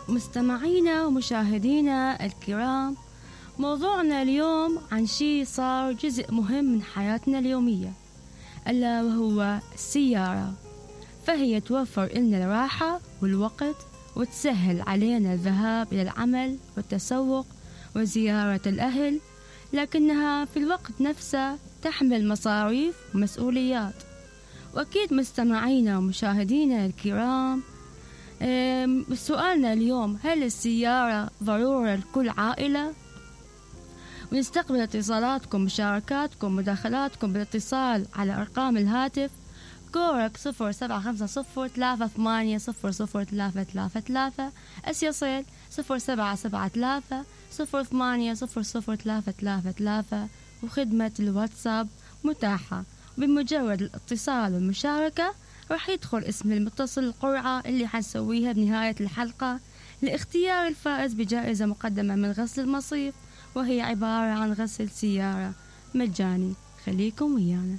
مستمعينا ومشاهدينا الكرام، موضوعنا اليوم عن شيء صار جزء مهم من حياتنا اليومية، ألا وهو السيارة. فهي توفر لنا الراحة والوقت، وتسهل علينا الذهاب إلى العمل والتسوق وزيارة الأهل، لكنها في الوقت نفسه تحمل مصاريف ومسؤوليات. وأكيد مستمعينا ومشاهدينا الكرام، سؤالنا اليوم: هل السيارة ضرورة لكل عائلة؟ ونستقبل اتصالاتكم، مشاركاتكم، مداخلاتكم بالاتصال على أرقام الهاتف كورك 0750380033، أسيصل 0773080033، وخدمة الواتساب متاحة. بمجرد الاتصال والمشاركة راح يدخل اسم المتصل القرعة اللي حنسويها بنهاية الحلقة لاختيار الفائز بجائزة مقدمة من غسل المصيف، وهي عبارة عن غسل سيارة مجاني. خليكم ويانا.